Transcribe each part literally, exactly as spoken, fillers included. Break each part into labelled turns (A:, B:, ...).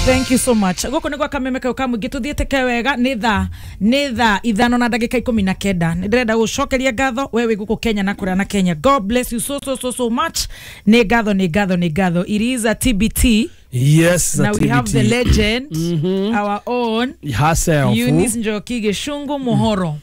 A: Thank you so much. Gũkũ nĩ gwa Kameme kau ka mũingĩ, tũthiĩte ke wega. Nĩ thaa nĩ thaa ithano na ndagĩka ikũmi na kenda. Nĩ ndĩrenda gũcokeria ngatho we wĩ gũkũ Kenya na kũrĩa na Kenya. God bless you so so so so much. Nĩ ngatho, nĩ ngatho, nĩ ngatho. It is a T B T.
B: Yes.
A: Now we have the legend, our own
B: herself,
A: Eunice Njoki Gĩcungu Mũhoro,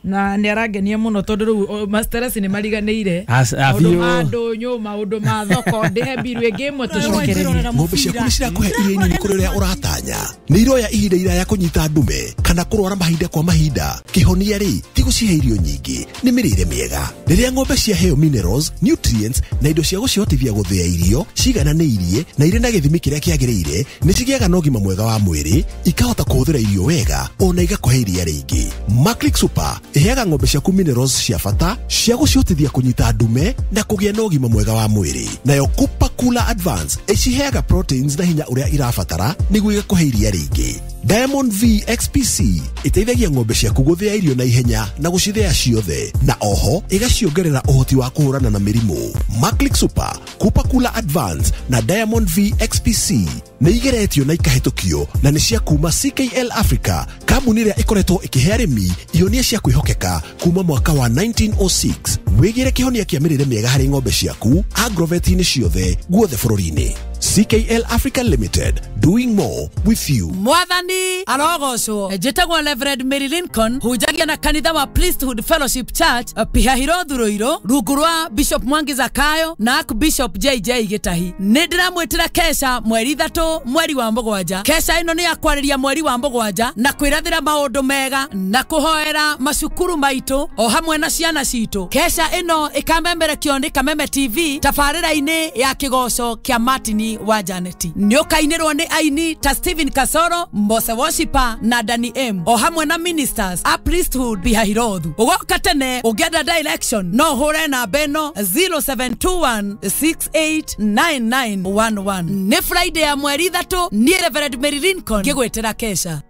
A: na nĩ arangenia mũno tondũ rĩu o, masteresi nĩ mariganĩire
B: As- a
A: maũndũ
B: biũ.
A: Ma ndũnyũ, maũndũ ma thoko. Ndĩhe mbiru ĩngĩ ĩmwe tũcokererie.
C: Ng'ombe ciaku nĩ cirakũhe iria nini kũrĩ ũrĩa ũratanya? Nĩ iroya ihinda iraya kũnyita ndume kana kũrwara mahinda kwa mahinda? Kĩhonia rĩ, ti gũcihe irio nyingĩ, nĩ mĩrĩre mĩega. Rĩrĩa ng'ombe ciaheo minerals, nutrients na indo cia gũcihotithia gũthĩa irio cigananĩirie na irĩ na gĩthimi kĩrĩa kĩagĩrĩire, nĩ cigĩaga na ũgima mwega wa mwĩrĩ, ikahota kũhũthĩra irio wega ona igakũhe iria rĩingĩ. Maclick Super ĩheaga ng'ombe ciaku minerals cia bata cia gũcihotithia kũnyita ndume na kũgĩa na ũgima mwega wa mwĩrĩ. Nayo Cooper Cooler Advance ĩciheaga proteins na hinya ũrĩa irabatara nĩguo igakũhe iria rĩingĩ. Diamond V X P C ĩteithagia ng'ombe ciaku gũthĩa irio na ihenya na gũcithĩa ciothe, na oho ĩgaciongerera ũhoti wa kũhũrana na mĩrimũ. Maclick Super, Cooper Cooler Advance na Diamond V X P C nĩ igeretio na ikahĩtũkio na nĩ cia kuma C K L Africa, kambuni ĩrĩa ĩkoretwo ĩkĩhe arĩmi ihonia cia kwĩhokeka kuma mwaka wa nineteen oh six. Wĩgĩre kĩhonia kĩa mĩrĩre mĩega harĩ ng'ombe ciaku agrovet-inĩ ciothe guothe bũrũri-inĩ. C K L Africa Limited, doing more with you.
D: Mwathani arogocwo. Njĩtagwo Reverend Mary Lincoln, hunjagia na kanitha wa Priesthood Fellowship Church, Pihahirothu, Ruiru, rungu rwa Bishop Mwangi Zakayo na Archbishop J J Gĩtahi. Nĩ ndĩramwĩtĩra kesha mweri ithatũ mweri wa mũgwanja. Kesha ĩno nĩ ya kwarĩria mweri wa mũgwanja na kwĩrathĩra maũndũ mega na kũhoera macukuru maitũ o hamwe na ciana citũ. Kesha ĩno ĩkamemerekio nĩ Kameme T V tabarĩra-inĩ ya kĩgoco kĩa Martin wa Janeti. Nĩ ũkainĩrwo nĩ aini ta Stephen Kasoro, Mose Worshiper na Danny M, o hamwe na ministers a Priesthood Pihahirothu. Ũgoka tene. Ũngĩenda direction, no ũhũre namba ĩno zero seven two one six eight nine nine one one. Nĩ Friday ya mweri ithatũ. Niĩ Reverend Mary Lincoln ngĩgwĩtĩra kesha.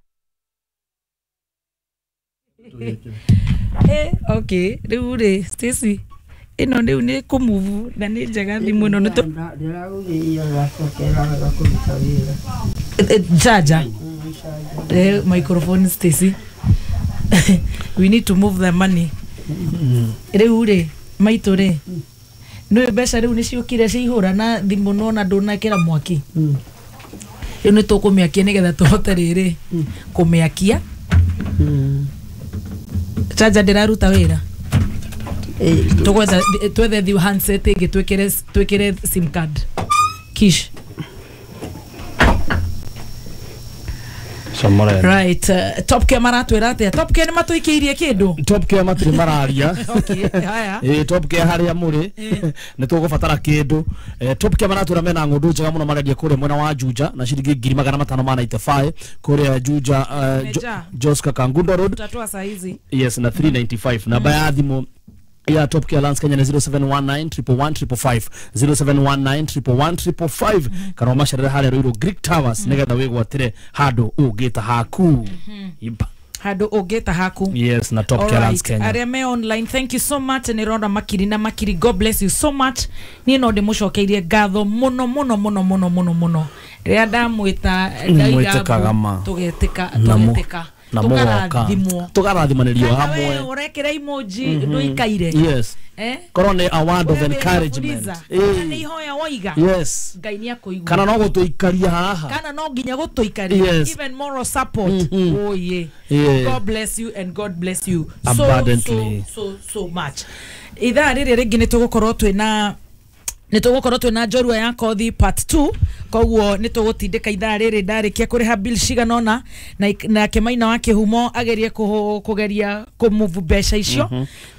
A: Eh, okay, rĩu rĩ, Stacy, ĩno rĩu nĩ kũmove na nĩ njega thimũ ĩno nĩ tũ-
E: Ndĩragũgĩia gacokera kũruta wĩra.
A: Eh, eh, charger. Eh, microphone, Stacy, we need to move the money. Rĩu rĩ, maitũ rĩ, nĩ mbeca rĩu nĩ ciũkire ciihũra na thimũ nona ndũnekĩra mwaki. Rĩu nĩ tũkũmĩakia nĩgetha tũhote rĩrĩ kũmĩakia. Charger ndĩraruta wĩra. Tũgwetha, twethe thiu handset ĩngĩ, twĩkĩre twĩkĩre sim card kish.
B: Comore.
A: Right, uh, Top Care maratwĩra atĩa? Top Care nĩ matũikĩirie kĩndũ?
B: Top Care matirĩ mararia.
A: Okay, haya.
B: Ĩ, Top Care harĩa mũrĩ nĩ tũgũbatara kĩndũ. Eh, Top Care maratwĩra mena ng'ũndũ njega mũno marendia kũrĩa mwena wa Juja na ciringi ngiri magana matano ma ninety-five kũrĩa Juja, uh, Jo-
A: Meja.
B: Joska Kangundo Road.
A: Tutatoa saa hizi.
B: Yes, na three ninety-five. Namba ya thimũ ya Top Care Lands Kenya ni zero seven one nine one one five five, zero seven one nine one one five five, kana ũmacerere harĩa Ruiru Greek Towers nĩgetha wĩgwatĩre handũ ũngĩta haku. Iba.
A: Handũ ũngĩta haku.
B: Yes, na Top Care Lands
A: Alright,
B: Kenya.
A: Arĩa me online, thank you so much. Nĩ rona makiri na makiri. God bless you so much. Niĩ no ndĩmũcokeirie ngatho mũno mũno mũno mũno mũno mũno. Rĩrĩa ndamwĩta ndaiga
B: Mwĩtĩkaga ma.
A: tũgetĩka,
B: Na mu-
A: tũgetĩka,
B: na mũgoka
A: tũkarathimwo,
B: tũkarathimanĩrio
A: kana we
B: hamwe.
A: ũrekĩra emoji ndũikaire.
B: Yes.
A: Eh?
B: Korwo nĩ a word of
A: We wĩna
B: encouragement.
A: Fuliza,
B: Ĩĩ.
A: kana nĩ ihoya woiga,
B: yes
A: Ngai nĩ akũigua.
B: Kana no gũtũikaria haha.
A: Kana no nginya gũtũikaria.
B: Yes.
A: Even moral support.
B: Mhm.
A: Oh yeah.
B: Yeah.
A: God bless you and God bless you so
B: abundantly.
A: so so so much. Ithaa rĩrĩ rĩngĩ nĩ tũgũkorwo twĩna nĩ tũgũkorwo twĩna njorua ya kothi part two, koguo nĩ tũgũtindĩka ithaa rĩrĩ ndarĩkia kũrĩha bill cigana ũna na nake Maina wa Kĩhumo agerie kũhũ- kũgeria kũmove mbeca icio.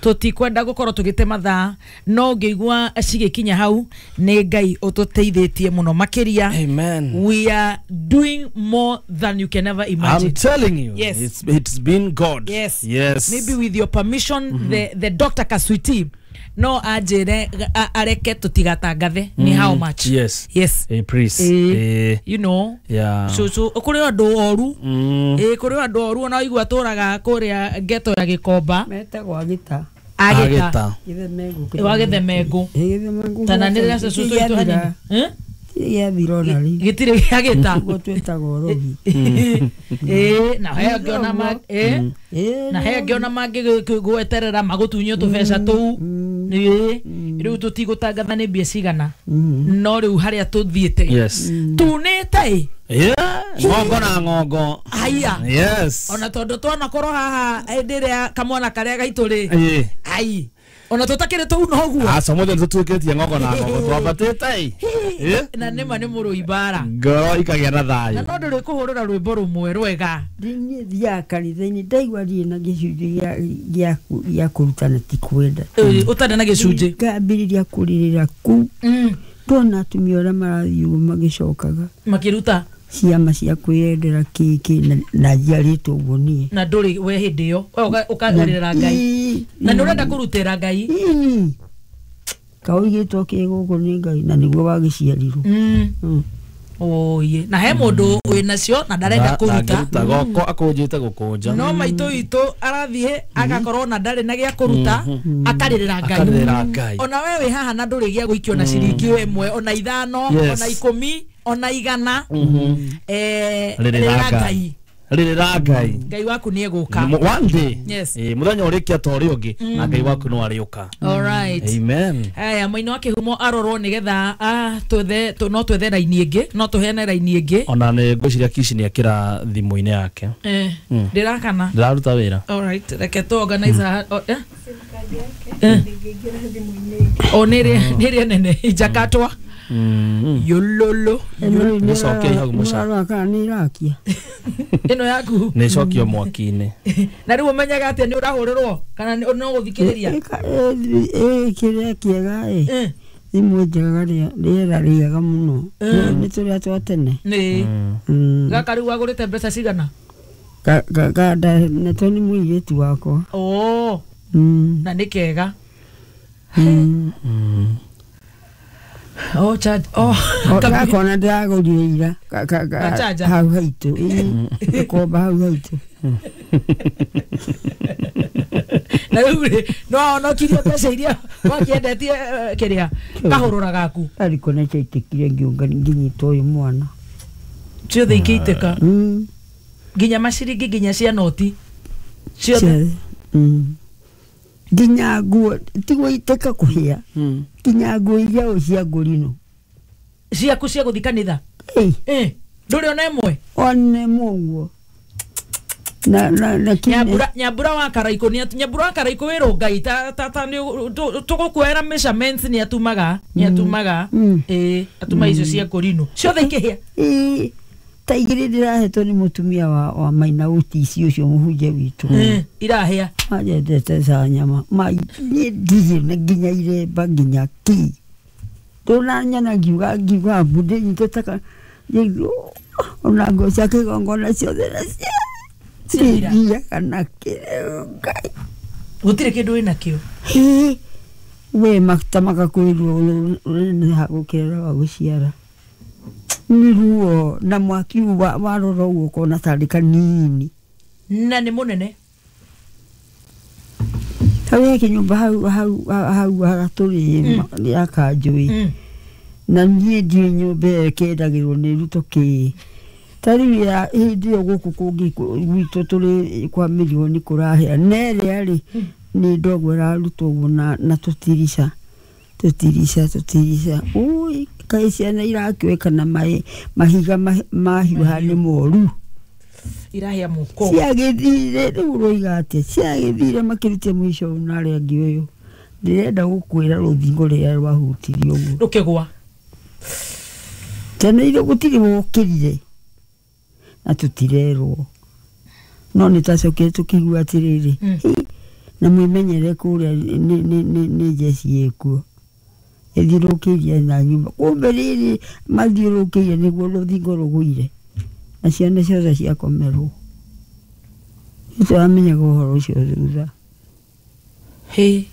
A: Tũtikwenda gũkorwo tũgĩte mathaa, no ũngĩigua cigĩkinya hau nĩ Ngai ũtũteithĩtie mũno makĩria.
B: Amen.
A: We are doing more than you can ever imagine.
B: I'm telling you.
A: Yes.
B: It's, it's been God.
A: Yes.
B: Yes.
A: Maybe with your permission, the, the Doctor Kaswiti no anjĩre a- areke tũtigatangathe nĩ how much.
B: Yes.
A: Yes.
B: Eh, please.
A: Eh,
B: Eh,
A: you know
B: yeah.
A: so so kũrĩ andũ oru.
B: Mm.
A: Ĩ, kũrĩ andũ oru ona waigua tũraga kũrĩa geto ya Gĩkomba.
E: Metagwo Agĩta.
A: Agĩta.
B: Agĩta.
E: Gĩthemengũ.
A: Wa Gĩthemengũ.
E: Gĩthemengũ.
A: Tana nĩ rĩrĩa cũcũ witũ hanini. Eh?
E: Gĩtirĩ gĩathira ona rĩ.
A: Gĩtirĩ gĩagĩta.
E: Ũguo twĩtaga ũrogi.
A: Ĩĩ, na he angĩ ona ma ĩĩ,
E: Ĩĩ,
A: na he angĩ ona mangĩ gweterera magũtunywo tũbeca tũu. Ĩĩ, rĩu tũtigũtangatha nĩ mbia cigana, no rĩu harĩa tũthiĩte
B: Yes.
A: tunĩte ĩ.
B: Yeah, ng'ongo na ng'ongo.
A: Haiya.
B: Yes.
A: Ona tondũ twanakorwo haha hĩndĩ ĩrĩa kamwana karĩa gaitũ rĩ,
B: Ĩĩ.
A: ai, ona tũtakĩrĩ tũu noguo.
B: Aca mũthĩ nĩtũtuĩkĩtie ng'ongo na ng'ongo twambatĩte ĩ. Ĩ.
A: Na nĩma nĩ mũrũi mbara.
B: Ngoro ikagĩa na
A: Na
B: thayũ.
A: no ndũrĩ kũhũrĩra rwĩmbo rũmwe rwega.
E: Niĩ thiaga kanitha-inĩ, ndaigua ndirĩ na gĩcunjĩ gĩa- gĩa gĩa kũrutana, ti kwenda.
A: Ĩ, ũtarĩ na gĩcunjĩ.
E: Ngambĩrĩria kũrĩrĩra kũu.
A: Mm,
E: ndona atumia ũrĩa marathiĩ ũguo magĩcokaga
A: makĩruta
E: ciama cia kwĩyendera kĩkĩ, na- na njiarĩtwo ũguo niĩ.
A: Na ndũrĩ we hĩndĩ ĩyo we ũka- ũkarĩrĩra Ngai na nĩ ũrenda kũrutĩra Ngai.
E: Ĩĩ. Kaũigĩtwo kĩ gũkũ nĩ Ngai na nĩguo wagĩciarirwo.
A: Mm.
E: Mm.
A: Oye, na he mũndũ wĩ nacio na ndarenda kũruta.
B: Ndangĩruta goko akũnjĩte gũkũnja.
A: No maitũ witũ arathiĩ agakorwo na ndarĩ na gĩa kũruta, akarĩrĩra Ngai.
B: Akarĩrĩra Ngai.
A: Ona we wĩ haha na ndũrĩ gĩa gũikio na ciringi ĩmwe, ona ithano,
B: Yes.
A: ona ikũmi, ona igana, eh,
B: Rĩrĩra
A: rĩrĩra
B: Ngai.
A: Ngai.
B: Rĩrĩra Ngai.
A: Ngai waku nĩ egũka.
B: M- one day.
A: Yes.
B: Ĩ, mũthenya ũrĩkia ta ũrĩa ũngĩ na Ngai waku no arĩũka.
A: Alright.
B: Amen.
A: Aya, mũini wa kĩhumo arorwo nĩgetha ah, twethe tũ- no twethe raini ĩngĩ, no tũheane raini ĩngĩ.
B: Ona nĩ ngwĩciria Kishi nĩ akĩra thimũ-inĩ yake.
A: Eh, ndĩrakana.
B: Ndĩraruta wĩra.
A: Alright, reke tu organize ha- o- eh? Eh. O nĩ ĩrĩa nĩ ĩrĩa nene ijakatwa yololo.
B: Nĩcokia hau mũca.
E: Mũrarora kana nĩ irakia.
A: Ĩno yaku.
B: Nĩ ĩcokio mwaki-inĩ.
A: Na rĩu ũmenyaga atĩa nĩ ũrahũrĩrwo kana nĩ- no gũthikĩrĩria?
E: Ĩka- ĩ- ĩ- kĩrĩa kĩega ĩ,
A: Eh,
E: thimũ njega, rĩa- rĩera rĩega mũno nĩ tũrĩa twa tene.
A: Nĩ
E: Mm.
A: gaka rĩu wagũrĩte mbeca cigana?
E: Ka- ka- ka- nda- natwo nĩ mũirĩtu wakwa.
A: Oo.
E: Mm.
A: Na nĩ kega.
E: Mm.
A: Oh, charge. Oh,
E: O, gakona ndĩragũrire ira Ka- ka- ka-
A: Ga charger?
E: Hau haitũ. Ĩ, gĩkomba hau haitũ.
A: Na rĩu rĩ, no wahonokirie mbeca iria wakĩendetie, eh, kĩrĩa kahũrũra gaku.
E: Ariko nĩkĩaitĩkire ngĩũngani ngĩnyita ũyũ mwana.
A: Ciothe ikĩitĩka.
E: Mm.
A: Nginya maciringi, nginya cia noti ciothe.
E: Ciothe. Mm. Nginya nguo tigũitĩka kũhĩa, nginya nguo iria ũ cia ngũrinũ.
A: Ciaku cia gũthi kanitha.
E: Ĩ.
A: Eh, ndũrĩ ona ĩmwe.
E: One mũguo na na na kine.
A: Nyambura, Nyambura wa Karaikũ nĩ atu- Nyambura wa Karaikũ wĩ rũngai ta ta ta nĩ tũgũkuoera measurements, nĩ atumaga nĩ atumaga.
E: Mm.
A: Ĩ, atuma icio cia kũrinũ ciothe ikĩhĩa.
E: Ĩ, ta igĩrĩ ndĩrahetwo nĩ mũtumia wa, wa Maina Ũtici ũcio mũhunjia witũ.
A: Eh, irahĩa.
E: Manjendete ca nyama ma niĩ ndirĩ na nginya iremba nginya ki ndũnanyona ngiuga ngiuga mbu ndĩnyitĩte ka ona nguo cia kĩgongona ciothe na cia
A: Ciathira.
E: thiaga na kĩrĩu Ngai.
A: Gũtirĩ kĩndũ wĩ nakĩo.
E: Hĩ, we maguta magakwĩrwo ũneneha gũkĩra wa gũciara nĩ ruo na mwaki wa- warora ũguo ũkona tarĩ kanini.
A: Na nĩ mũnene.
E: Hau he kĩnyũmba hau hau hau hagatũrĩ ya kanjũĩ.
A: Mm.
E: Na niĩ ndiũĩ nyũmba ĩyo ĩkĩendagĩrwo nĩ ruto kĩ ta rĩu ya hĩndĩ ĩyo gũkũ kũngĩ kũ- gwitũ tũrĩ kwa mirioni kũrahĩa na ĩrĩa rĩ nĩ ndogo ĩrarutwo ũguo na, na tũtirica tũtirica tũtirica ui kaĩ ciana irakĩoeka na maĩ mahiga ma- mahiũha nĩ moru.
A: Irahĩa mũko.
E: Ciagĩthire rĩu ũroiga atĩa, ciagĩthire makĩrutia mũico ũyũ na arĩa angĩ ũyũ ndĩrenda gũkwĩra rũthingo rĩrĩa rwahutirie ũguo
A: rũkĩgwa.
E: Ciana iria gũtirĩ wokĩrire na tũtirerwo no nĩ twacokire tũkĩigua atĩrĩrĩ.
A: Mm.
E: "Hi, na mwĩmenyere kũrĩa nĩ- nĩ- nĩ- nĩ njeci ĩkuo ĩthiũrũkĩirie na nyũmba kumbe rĩrĩ mathiũrũkĩirie nĩguo rũthingo rũgũire na ciana ciothe ciakomerwo nĩtũramenyaga ũhoro ũcio thutha."
A: Hĩ.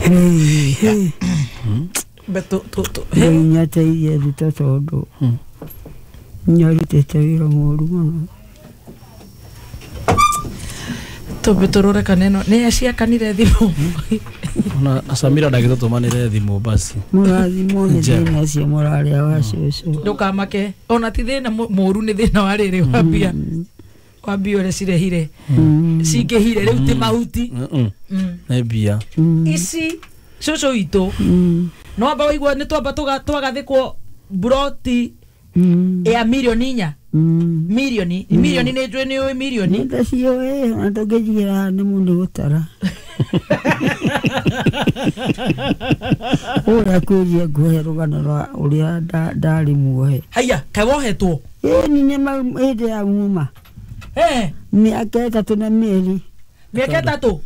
E: Hĩ, hĩ.
A: Be tũ- tũ- tũ-
E: Ngai
A: hĩ.
E: nĩateithie Ruto tondũ nĩarutĩte wĩra mũru mũno.
A: Tumbe turore kana ĩno nĩ ciakanire thimũ.
B: Ona Samira ndagĩtũtũmanĩre thimũ basi.
E: Mũrathimwo nĩ
B: Njega.
E: thĩna ũcio mũrarĩa wa cũcũ.
A: Ndũkamake ona ti thĩna mu- mũũru, nĩ thĩna wa rĩrĩ wa mbia, wa mbia ũrĩa cirehire cingĩhire rĩu ti mahuti.
B: Mm.
A: Mm.
B: Nĩ mbia.
A: Ici cũcũ witũ no amba waigua nĩ twamba tũga- twagathĩkwo buroti ya mirioni inya, mirioni mirioni nĩ njũĩ nĩ ũĩ mirioni.
E: Ndaciũĩ, ona ndũngĩnjigĩra nĩ mũndũ gũtara ũrĩa kwĩria nguhe rũgano rwa ũrĩa nda- ndarĩ muohe.
A: Haiya, kaĩ wohetwo?
E: Ĩni nĩ mau hĩndĩ ya muma.
A: Eh,
E: mĩaka ĩtatũ na mĩeri.
A: Mĩaka ĩtatũ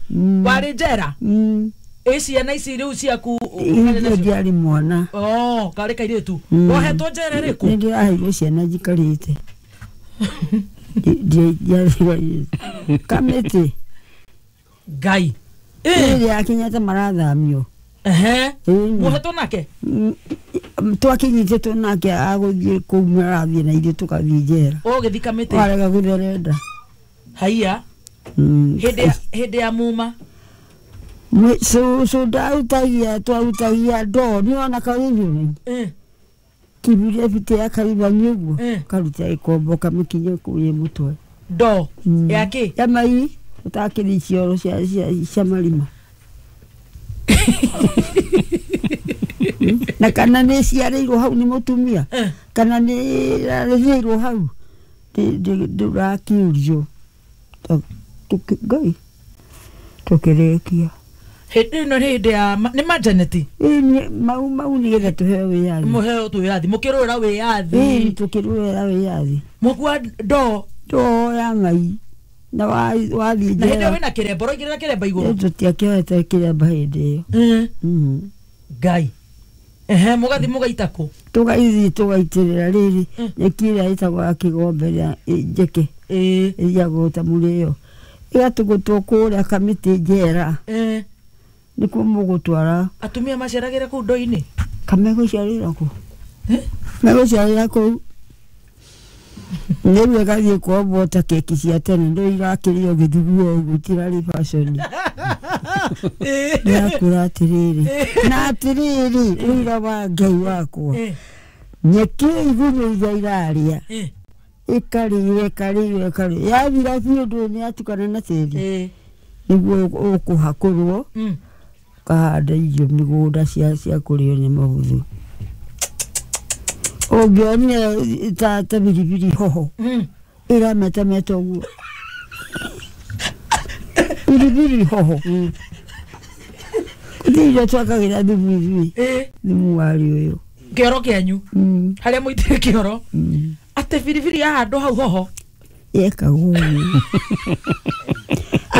A: warĩ njera?
E: Mm.
A: Ĩ ciana ici rĩu ciaku?
E: Hĩndĩ ĩyo ndiarĩ mwana.
A: Oh, karĩ kairĩtu.
E: Mm.
A: Wohetwo njera
E: Nĩ
A: ĩrĩkũ?
E: ndĩraheirwo ciana njikarĩte. Ndi- ndiarĩ kamĩtĩ.
A: Ngai. Eh,
E: ĩrĩa ya Kenyatta marathamio.
A: Ehe.
E: Ĩni.
A: Wohetwo nake?
E: Mm, twakinyitĩtwo nake agũthiĩ kũu marathiĩ na ithuĩ tũkathiĩ njera.
A: Ũgĩthi kamĩtĩ?
E: Warega gũtherenda.
A: Haiya.
E: Mm.
A: Hĩndĩ ya hĩndĩ ya muma?
E: Mwe- cũcũ ndarutagia, twarutagia ndoo nĩwona karĩthũ
A: Eh,
E: kiburia bite ya karibani ũguo.
A: Eh.
E: Karuta ĩkombo kamĩkinye kũu ĩ mũtwe.
A: Ndoo
E: Mm.
A: ya kĩ?
E: Ya mai ũtakĩrĩ cioro cia cia- cia marima na kana nĩ ciarĩirwo hau nĩ mũtumia
A: Eh.
E: kana nĩ rarĩrĩirwo hau ndũrakiurio. Ngai tũkĩrĩkia.
A: Hĩndĩ ĩno nĩ hĩndĩ ya ma- nĩ majaneti?
E: Ĩĩ, nĩ- mau mau nĩgetha tũheo wĩyathi.
A: Mũheo wĩyathi, mũkĩrũĩra
E: Ĩĩ,
A: wĩyathi?
E: Tũkĩrũĩra wĩyathi.
A: Mũkua ndoo?
E: Ndoo ya mai na wa- wathiĩ
A: Na hĩndĩ ĩyo
E: njera.
A: wĩna kĩremba, ũraigĩrĩra kĩremba igũrũ?
E: Tũtiakĩoete kĩremba hĩndĩ ĩyo.
A: Eh,
E: Mhm.
A: Ngai. Ehe, mũgathi mũgaita kũ?
E: Tũgaithiĩ tũgaitĩrĩra rĩrĩ
A: Mm.
E: nyeki ĩrĩa ĩtagwo ya kĩgombe ĩrĩa ĩ- njeke.
A: Ĩĩ.
E: Ĩrĩagwo ta mũrĩo ĩgatũgũtwo kũrĩa kamĩtĩ njera.
A: Eh,
E: nĩkuo mũgũtwara.
A: Atumia maceragĩra kũu ndoo-inĩ?
E: Kamegũciarĩra kũ?
A: Eh?
E: Megũciarĩra kũu nĩrĩu ĩgathiĩ kuombwo ta keki cia tene ndũ irakĩrio gĩthuguo ũguo itirarĩ fashion. Ndĩrakũra atĩrĩrĩ na atĩrĩrĩ ũira wa Ngai wakwa.
A: Eh,
E: Nyeki igunyũ iria irarĩa
A: eh,
E: ĩkarĩo ĩkarĩo ĩkarĩo yathira biũ ndũĩ nĩ yatukana na tĩri.
A: Eh,
E: Nĩguo ũkũhakũrwo
A: mm.
E: ũkahanda irio mĩgũnda cia cia kũrĩo nĩ mahũthũ ũngĩonire ta ta biribiri hoho
A: Mm.
E: ĩrametameta ũguo biribiri hoho gũtirĩ irio twakagĩra thumu ithuĩ.
A: Eh,
E: Thumu warĩ ũyũ.
A: Kĩoro kĩanyu?
E: Mm,
A: harĩa mũitire kĩoro?
E: Mm.
A: Atĩ biribiri yahandwo hau hoho?
E: Yekagwo ũguo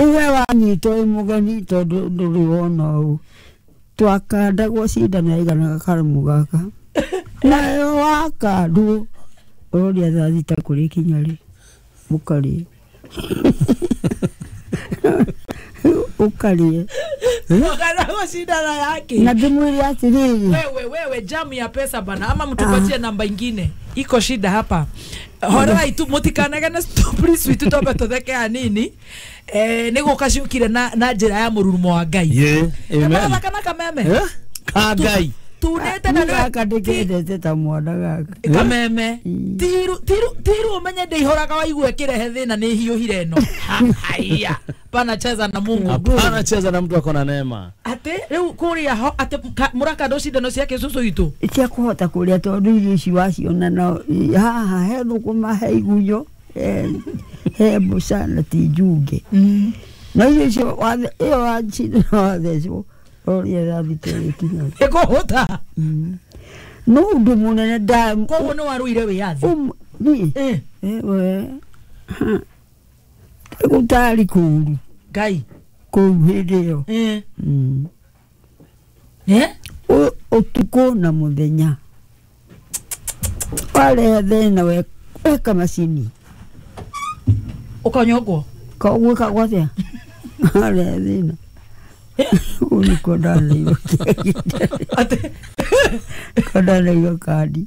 E: ũwe wanyitwo wĩ mũgeni tondũ ndũrĩ wona ũũ twakandagwo cindano yaiganaga karamu gaka nayo wakandwo ũroria thaa thita kũrĩ kinya rĩ mũkarĩe ũkarĩe.
A: Ũkandagwo cindano yake?
E: Na ndĩmwĩre atĩrĩrĩ.
A: Wewe wewe, jamu ya pesa bana, ama mtupatie namba ingine, iko shida hapa. Horerai tu, mutikanagane, please witu twambe tutheke hanini. Eh, nĩ gũka ciũkire na na njĩra ya mũrurumo wa Ngai.
B: Yeah, amen.
A: Kamathaka na kameme.
B: Eh? Ka Ngai.
A: Tunĩte na
E: Nĩ gaka ndĩkendete ta mwana gaka.
A: Kameme tiru tiru tiru umenye ndĩihoraga waigua ĩkĩrehe thĩna nĩ hiũhire ĩno. Haiya, panacheza na Mungu.
B: Hapana cheza na mtu ako na neema.
A: Atĩ rĩu kũrĩa ho atĩ ka- mũrakandwo cindano ciake cũcũ witũ?
E: Cia kũhota kũrĩa tondũ irio ici waciona no haha he thũkũma he igunyo he- he mboca na ti njunge no irio icio wathe- ĩyo wacindano wathecwo ũroria thaa thita ĩgĩkinya.
A: Ĩkũhũta.
E: No ũndũ mũnene nda
A: Koguo nĩ warũire wĩyathi?
E: Um- niĩ
A: Eh,
E: ewe gũtarĩ kũũru
A: Ngai.
E: kũu hĩndĩ ĩyo.
A: Eh.
E: Mm.
A: Eh?
E: Ũ- ũtukũ na mũthenya warehe thĩna we- weka macini.
A: Ũkanyongwo?
E: Gwĩkagwo atĩa warehe thĩna kũu nĩkuo ndaneirwo.
A: Atĩ
E: Nĩkuo ndaneirwo kandi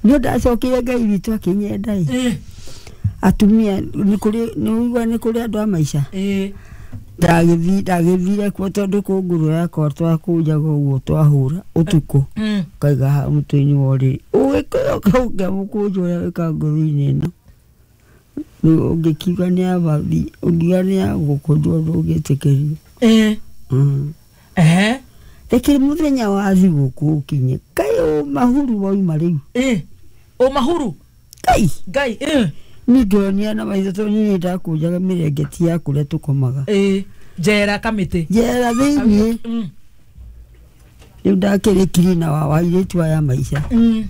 E: nĩ ndacokire Ngai witũ akĩnyenda ĩ
A: Eh,
E: atumia nĩ kũrĩ nĩ ũigua nĩ kũrĩ andũ a maica.
A: Eh.
E: Ndagĩthi ndagĩthire kuo tondũ kũngũrũ yakwa twakũnjaga ũguo twahũra ũtukũ
A: Mm.
E: kaiga haha mũtwe-inĩ wa ũrĩrĩ ũgĩkũyũ kaũngĩamũkũnja ũrĩa wĩ kangũrũ-inĩ ĩno rĩu ũngĩkiuga nĩ abathi ũngiuga nĩ agũkũnjwo ndũngĩtĩkĩrio.
A: Eh.
E: Mm.
A: Ehe.
E: Reke mũthenya wa thigũkũ ũkinye kaĩ ũmahuru wauma rĩu.
A: Eh. Ũmahuru.
E: Kai
A: Ngai. Eh.
E: niĩ ndĩronia na maitho tondũ niĩ nĩndakũnjaga mĩrengeti ya kũrĩa tũkomaga.
A: Eh. Njera kamĩtĩ.
E: Njera thĩiniĩ.
A: Mm.
E: Rĩu ndakĩrĩkirie na wa airĩtu aya maica.
A: Mm.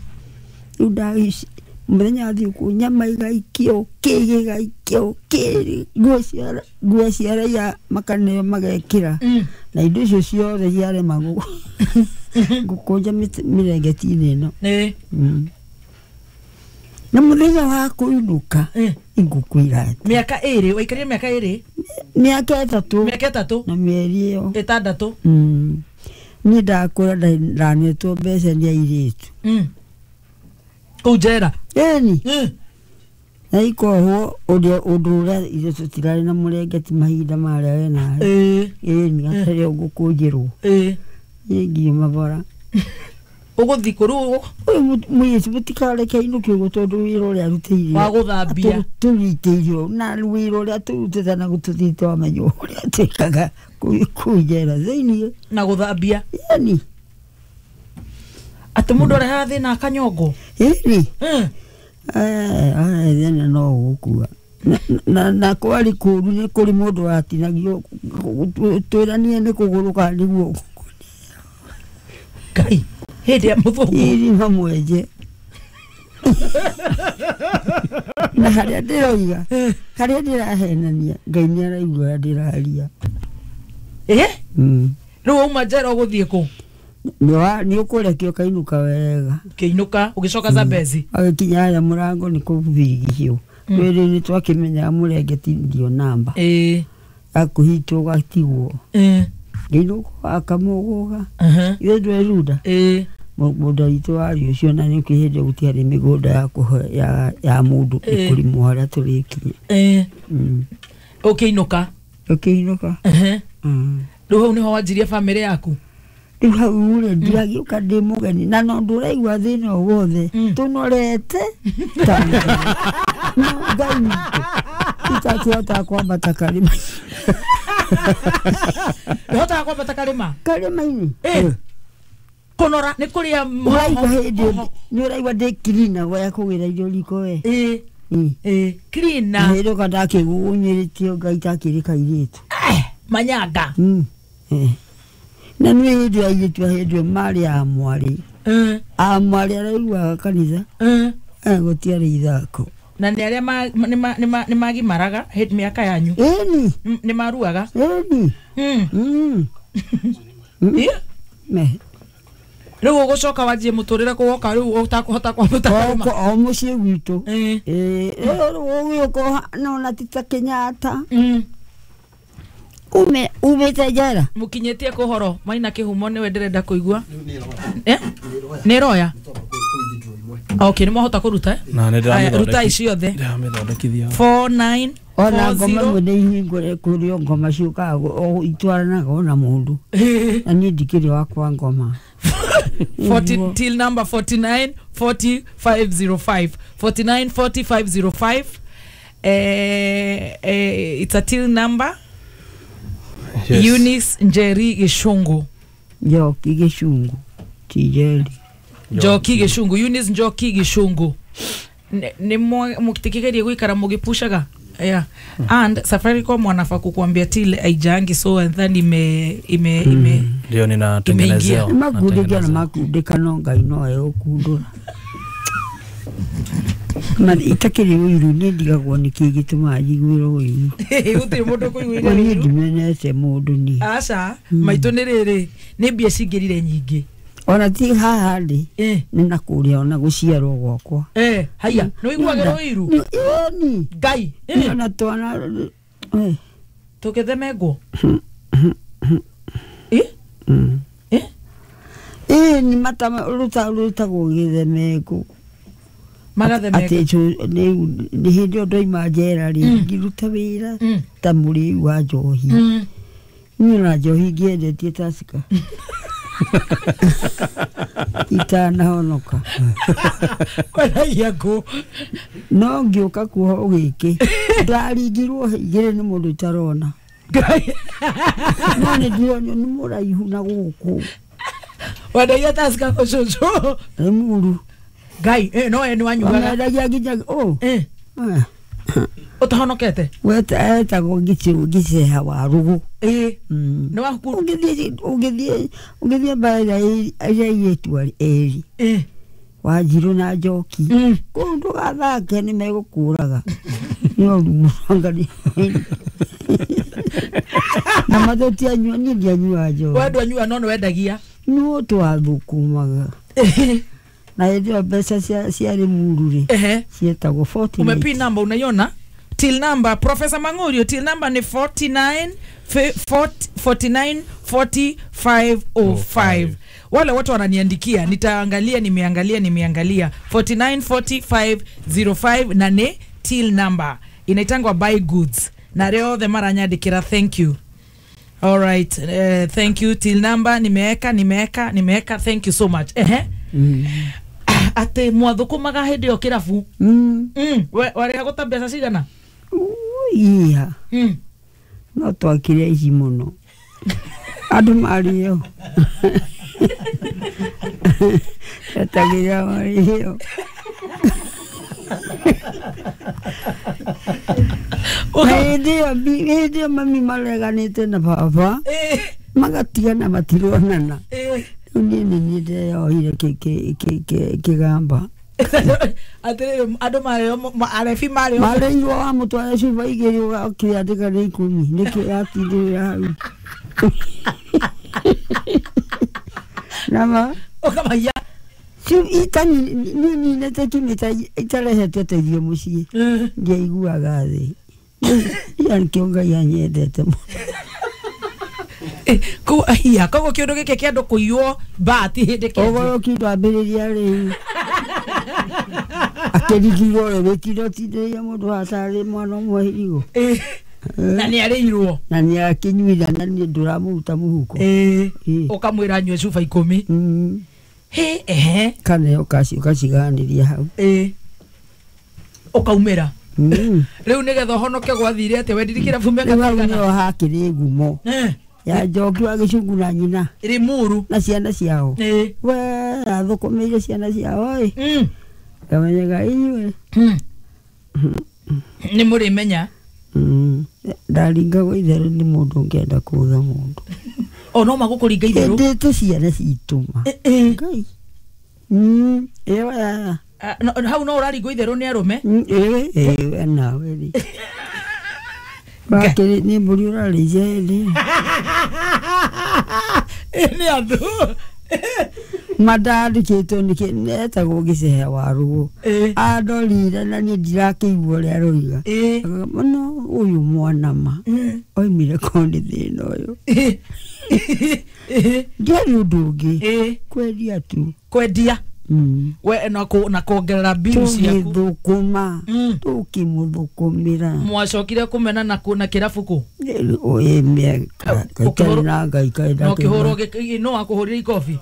E: Rĩu ndaci mũthenya wa thigũkũ nyama igaikio kĩ gĩgaikio kĩ nguo cia nguo cia raia makaneo magekĩra.
A: Mm.
E: Na indo icio ciothe ciarema gũ- gũkũnja mĩtĩ- mĩrengeti-inĩ ĩno.
A: Eh.
E: Mm. Na mũthenya wa kũinũka
A: Eh.
E: ingũkwĩra atĩ
A: Mĩaka ĩrĩ waikarire mĩaka ĩrĩ
E: mĩaka ĩtatũ
A: mĩaka ĩtatũ
E: na mĩeri ĩyo.
A: ĩtandatũ.
E: Mm. Niĩ ndakũra nda- ndanetwo mbeca nĩ airĩtu.
A: Mm. Kũu njera.
E: Ĩni
A: Mm.
E: na ikohwo ũrĩa ũndũ ũrĩa ithuĩ tũtirarĩ na mũrengeti mahinda marĩa we nawe.
A: Eh.
E: Ĩni gatarĩ o gũkũnjĩrwo.
A: Eh.
E: Niĩ ngiuma bara.
A: Ũgũthiĩ kũ rĩu
E: Ũyũ mũ- mũirĩtu mũtikareke ainũke ũguo tondũ wĩra ũrĩa arutĩire
A: wa gũthambia.
E: tũrutĩire na wĩra ũrĩa tũrutĩte na gũtũthiĩte wamenya ũrĩa twĩkaga kũu kũu njera thĩiniĩ.
A: Na gũthambia.
E: Ĩni
A: Atĩ mũndũ arehaga thĩna akanyongo.
E: ĩni
A: Mm.
E: thĩna no ũgũkua. Na- na na kwarĩ kũũru nĩ kũrĩ mũndũ watinagio twĩranie nĩ kũgũrũ kana nĩ guoko.
A: Ngai. Hĩndĩ ya mũthũngũ.
E: Irima mwenje na harĩa ndĩroiga harĩa ndĩrahenania Ngai nĩ araigua ũrĩa ndĩraria.
A: Eh?
E: Mm.
A: Rĩu wauma njera ũgũthiĩ kũ?
E: Nĩ ũkũrekio ũkainũka wega.
A: Ũkĩinũka ũgĩcoka Zambezi.
E: Agĩkinya harĩa mũrango nĩ kũbirigicio. Rĩrĩ nĩ twakĩmenyaga mũrengeti ndio namba.
A: Eh.
E: Akũhitwo ũgatigwo.
A: Eh.
E: Ngĩinũka akamũgũga.
A: Uh-huh.
E: Ithe ndwerunda.
A: Eh.
E: Mũgũnda witũ warĩ ũcio na nĩ hĩndĩ gũtiarĩ mĩgũnda ya kũhe ya, ya mũndũ
A: Eh.
E: nĩ kũrĩmwo harĩa tũrĩkinya.
A: Eh.
E: Mm.
A: Ũkĩinũka.
E: Ũkĩinũka.
A: Uh-huh.
E: Mm.
A: Rĩu hau nĩho wanjirie bamĩrĩ yaku.
E: Rĩu hau rĩ ndiragĩũka ndĩ mũgeni na no ndũraigua thĩna o wothe
A: Mm.
E: tũnorete ta no Ngai witũ itakĩhota kwambata karĩma.
A: Ndũhotaga kwambata karĩma?
E: Karĩma-inĩ.
A: Eh. Kũnora nĩ kũrĩa
E: Ũraigua hĩndĩ ĩyo nĩ ũraigua ndĩ cleaner ya kũgĩra irio riko we.
A: Eh.
E: Mm.
A: Eh. Cleaner.
E: Hĩndĩ ĩyo ndakĩgunyĩrĩtio Ngai takĩrĩ kairĩtu.
A: Eh. Manyanga.
E: Mm. Eh. Na nĩ hĩndĩ ya airĩtu a hĩndĩ ĩyo marĩ a mwarĩ.
A: Eh.
E: A mwarĩ araiguaga kanitha.
A: Eh.
E: Eh, gũtiarĩ ithako.
A: Na nĩ arĩa ma- nĩ ma- nĩ ma- nĩ magimaraga hĩndĩ mĩaka yanyu.
E: Ĩni.
A: Mm, Nĩ maruaga.
E: Ĩni.
A: Mm.
E: Mm.
A: Eh.
E: Me.
A: Rĩu ũgũcoka wanjie mũtũrĩre kũ woka rĩu ũtakũhota kwambata karĩma.
E: O mũciĩ gwitũ.
A: Eh.
E: Eh, rĩu ũgĩũka nona ti ta Kenyatta.
A: Mm.
E: Ume umĩte njera.
A: Mũkinyĩtie kũhoro maina kĩhumo nĩwe ndĩrenda kũigua. Eh? Nĩ roya. Okay, nĩ mwahota kũruta eh?
B: Na nĩ
A: Aya,
B: ndĩramĩthondeki-
A: rutai ciothe.
B: ndĩramĩthondekithia.
A: four nine
E: Ona
A: four
E: ngoma
A: zero
E: imwe nĩ ihingũre kũrĩ o ngoma ciũkaga o itwaranaga ona mũndũ. Na niĩ ndikĩrĩ wakwa ngoma.
A: forty till number forty-nine forty five zero five forty-nine forty five zero five. Eh, eh, it's a till number.
B: Yes.
A: Eunice Njeri Gishungu.
E: Njoki Gĩcungu ti Njeri.
A: Njoki Gishungu. Eunice Njoki Gishungu. Nĩ mũtikigerie guikara mũgĩpushaga. Yeah. And Safaricom wanafaa kukuambia till haijaangi, so and then ime ime ime
B: Ndio ninatengenezewa.
E: Nĩ makundĩkia na makundĩka no Ngai no egũkundũra. Ma itakĩrĩ ũiru niĩ ndigagwo nĩkĩ gĩtũmaga njiguĩre ũiru.
A: Gũtirĩ mũndũ kũiguĩra
E: Niĩ
A: ũiru.
E: ndimenete mũndũ niĩ.
A: Aca maitũ nĩ rĩrĩ nĩ mbia cingĩrire nyingĩ.
E: Ona ti haha ndĩ
A: Eh.
E: nĩ na kũrĩa ona gũciarwo gwakwa.
A: Eh, haya nĩ ũiguagĩra ũiru?
E: Ĩni.
A: Ngai. Eh,
E: Ona twana eh.
A: tũgĩthemengwo. Eh?
E: Mm.
A: Eh?
E: Ĩni mata ruta rutagwo gĩthemengũ.
A: Magathemengwo.
E: Atĩ nĩ hĩndĩ ĩyo ndoima njera rĩ ngĩruta wĩra
A: Mm.
E: ta mũrĩu wa njohi.
A: Mm.
E: Niĩ na njohi ngĩendetie Tusker itanahonoka.
A: Wendagia ngũ?
E: No ngĩũka kuohwo gĩkĩ, ndaringirwo igĩrĩ nĩ mũndũ itarona.
A: Ngai.
E: No nĩ ndironio nĩ mũraihu na gũkũ.
A: Wendagia Tusker kũ, cũcũ?
E: Nĩ mũru.
A: Ngai, eh, no we nĩ wanyuaga?
E: Wamendagia nginya ũ.
A: Eh, ũtahonokete?
E: Weta etagwo Gĩceha wa Rũgũ.
A: Ĩ.
E: Mm.
A: Nĩ waku.
E: Ũngĩthiĩ ũngĩthiĩ ũngĩthiĩ mbara ĩrĩa ĩrĩa airĩtu erĩ,
A: Ĩ.
E: Wanjirũ na Njoki,
A: Mm.
E: kũu ndũgathake, nĩ megũkũraga nĩ ũru mũno na matũtianyua. Niĩ ndianyuaga njohi.
A: We ndwanyua, no nĩ wendagia?
E: No twathũkũmaga na hĩndĩ ĩyo mbeca cia ciarĩ muru rĩ,
A: Ehe.
E: cietagwo forty.
A: Umepi number unaiona? Till number, Professor Mangurio, till number ni forty-nine fi- forty forty-nine forty-five oh five. Wale watu wananiandikia, nitaangalia, nimeangalia, nimeangalia forty-nine forty-five oh five na ni till number inaitangwa buy goods na rĩo othe maranyandĩkĩra, thank you. All right, uh, thank you. Till number nimeweka, nimeweka, nimeweka. Thank you so much. Ehe, atĩ mwathũkũmaga hĩndĩ ĩyo kĩrabu?
E: Mm.
A: Mm, we- warĩhagwo ta mbeca cigana?
E: Iya.
A: Mm.
E: No twakire ici mũno andũ marĩo etagĩrĩra marĩo. Na hĩndĩ ĩyo bi- hĩndĩ ĩyo mami mareganĩte na baba,
A: Eh,
E: magatigana, matironana.
A: eh.
E: Rĩu niĩ nĩ niĩ ndeyohire kĩ- kĩ- kĩ- kĩ- kĩgamba.
A: Atĩrĩrĩ, andũ marĩo ma- arebi marĩo?
E: Marĩirwo wamũtwara cuba igĩrĩ, ũkĩandĩka nĩ ikũmi, nĩkĩo yatindĩrĩra hau nama.
A: Ũkamaiya?
E: Nininete kimita itarehete ũteithio mũciĩ, ndiaiguaga thĩ. Ia nĩkĩo Ngai anyendete mũno.
A: Eh, kũu aiya, koguo kĩũndũ gĩkĩ kĩa andũ kũiywo mbati hĩndĩ kĩanjia.
E: Ũgoroki ndwambĩrĩria rĩu, akĩrigirwo rĩ wĩtinda ũtindĩrĩire mũndũ hatarĩ mwana ũmwe hirigo.
A: Eh, na nĩ arĩirwo.
E: Na nĩ akĩnyuira na niĩ ndũramũruta mũhuko.
A: Eh,
E: Ĩ.
A: ũkamwĩra anyue cuba ikũmi.
E: Mm.
A: Hĩ, ehe.
E: Kana ũkaciganĩria hau.
A: Eh. Ũkaumĩra.
E: Mm.
A: Rĩu nĩgetha ũhonoke gwathire atĩa? Wendirie kĩrabu mĩaka
E: Rĩu hau
A: mĩigana?
E: nĩho hakĩrĩ ngumo
A: Eh,
E: ya Njoki wa Gĩcungu na nyina
A: Limuru.
E: Na ciana ciao.
A: Eh.
E: We athũkũmĩire ciana ciao ĩ.
A: Mm.
E: Ngamenyaga inyuĩ.
A: Mm. Nĩ mũrĩmenya.
E: Mm. Ndaringagwo itherũ nĩ mũndũ ũngĩenda kũũtha mũndũ.
A: O no magũkũringa itherũ?
E: Endete ciana citũ ma.
A: Eh, eh.
E: Ngai. Mm, ĩyo ya.
A: Ah, no- hau no ũraringwo itherũ nĩ arũme?
E: Mm, ĩĩ ĩĩ we nawe rĩ. Wakĩrĩ nĩ mbũri ũrarĩithia hĩndĩ ĩyo.
A: Ĩ, nĩ andũ.
E: Mandandĩkĩtwo nĩkĩ etagwo Gĩcehe wa Rũgũ.
A: Ĩ.
E: Andorire na niĩ ndirakĩigua ũrĩa aroiga.
A: Ĩ.
E: Mũno ũyũ mwana ma
A: Mm.
E: oimire korwo nĩ thĩna ũyũ.
A: Ĩ. Ĩ.
E: Ndiarĩ ũndũ ũngĩ.
A: Ĩ.
E: Kwendia tu.
A: Kwendia.
E: Mm.
A: We na kũ- na kuongerera bill ciaku.
E: Tũgĩthũkũma.
A: Mm.
E: Tũkĩmũthũkũmĩra.
A: Mwacokire kũmena na kũ- na kĩrabu kũ?
E: Ĩ mĩaka
A: Ũkĩhũrwo-
E: itarĩ na Ngai kaĩ.
A: Na ũkĩhũrwo
E: ndakĩona.
A: gĩ- no akũhũrire ikobi?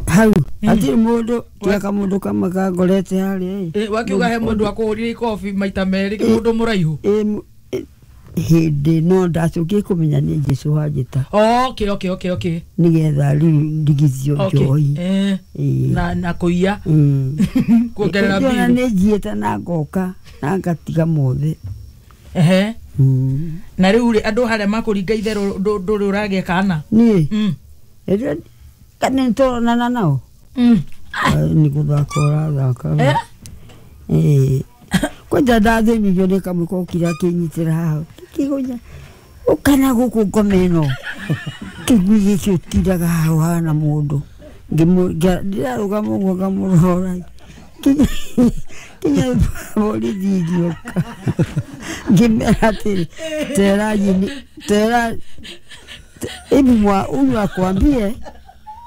E: Hau hatirĩ mũndũ tiga kamũndũ kamwe kangorete harĩa ĩ.
A: Ĩ, wakiuga he mũndũ akũhũrire ikobi maita merĩ, mũndũ mũraihu?
E: Ĩ, m- ĩ, hĩndĩ no ndacokire kũmenya nĩ Jesũ wanjĩta
A: okay okay okay okay
E: nĩgetha rĩu ndigithio
A: okay
E: njohi.
A: Eh,
E: Ĩ.
A: na na kũiya,
E: Mm.
A: kuongerera
E: Ĩndĩ ona
A: bill.
E: nĩ njiĩte na ngoka na ngatiga mothe.
A: Ehe.
E: Mm.
A: Na rĩu rĩ, andũ harĩa makũringa itherũ, ndũ- ndũrĩ ũragĩa kana?
E: Niĩ
A: Mm.
E: ĩrĩa kana nĩtũronana nao.
A: Mm.
E: Ai, nĩ gũthaka ũrathaka we.
A: Eh?
E: Ĩĩ. Kwanja ndathĩnirio nĩ kamwe kokire akĩnyitĩra haha kĩgonya ũkana gũkũ ngoma ĩno kĩgui gĩkĩ ũtindaga haha ũhana mũndũ. Ngĩmũ- ngĩa- ndĩrarũgama ũguo ngamũrora kinya kinya borithi ngĩũka ngĩmera atĩrĩ, tera nyini tera hebu mwa huyu akwambie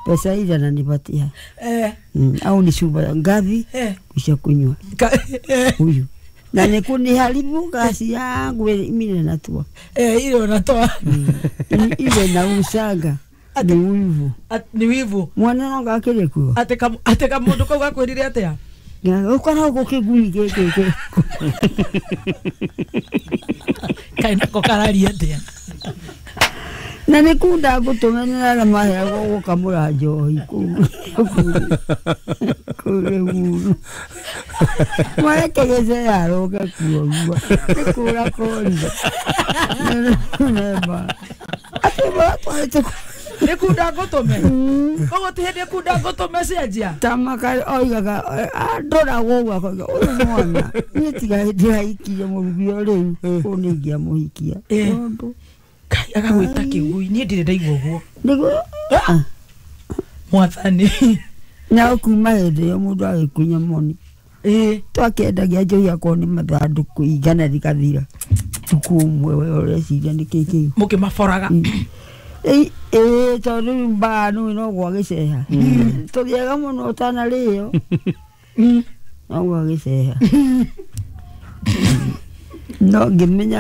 E: pesa ile ananipatia.
A: Eh.
E: Mm, au ni chupa ngapi
A: Eh.
E: kisha kunywa
A: Ka- eh.
E: huyu. Na nĩ kuniharibu kazi yangu mine natua
A: Eh, ile unatoa
E: ile na usanga ni wivu
A: At- ni wivu
E: mwana no gakĩrĩ kuo
A: atĩ kam- atĩ kamũndũ kau gakwĩrire atĩa
E: ũkoragwo kĩgui gĩkĩ
A: kaĩ nako kararia atĩa
E: na nĩ kunda ngũtũmenera na maheagwo gũkamũra njohi kũu kũu rĩmuru marekegece yaroke kuogua nĩ kũra korire nemba atĩ maratwarĩte
A: nĩ kunda ngũtũme koguo ti hĩndĩ kunda ngũtũme cenjia
E: tamaka oigaga andoragwo ũguo akoiga ũyũ mwana niĩ tiga hĩndĩ ahikirie mũrugi o rĩu kũu nĩ ingĩamũhikia
A: Eh.
E: tondũ
A: kai agagwĩta kĩgui niĩ ndirĩ ndaigua ũguo
E: nĩguo ah,
A: mwathani
E: na kuma hĩndĩ ĩyo mũndũ agĩkunya moni
A: ĩĩ
E: twakĩendagia njohi akorwo nĩ mathandũkũ igana rĩgathira tukũ ũmwe we ũreciria nĩ kĩ kĩu
A: mũkĩmaboraga
E: ĩĩ tondũ rĩu mbaa nũĩ no gwa gĩceha tũrĩaga mũno ũtanarĩo no gwa gĩceha no ngĩmenya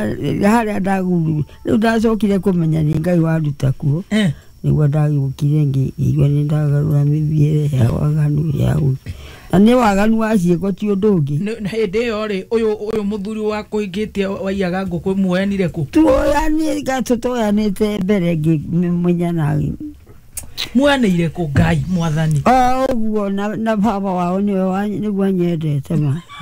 E: harĩa ndaguru rĩu ndacokire kũmenya nĩ Ngai wanduta kuo
A: Eh,
E: nĩguo ndagĩũkire ngĩigua nĩ ndagarũra mĩthiĩre ya waganu ya ũ- na nĩ waganu wa ciĩko ti ũndũ ũngĩ
A: nĩ- na hĩndĩ ĩyo rĩ ũyũ ũyũ mũthuri wa kũingĩtie waiyaga ngũkũ muoyanire kũ
E: tuoyanĩte tũtoyanĩte mbere ngĩmenya na
A: muoyanĩire kũ ngai mwathani
E: o ũguo na na baba wao nĩwe wa- nĩguo anyendete ma.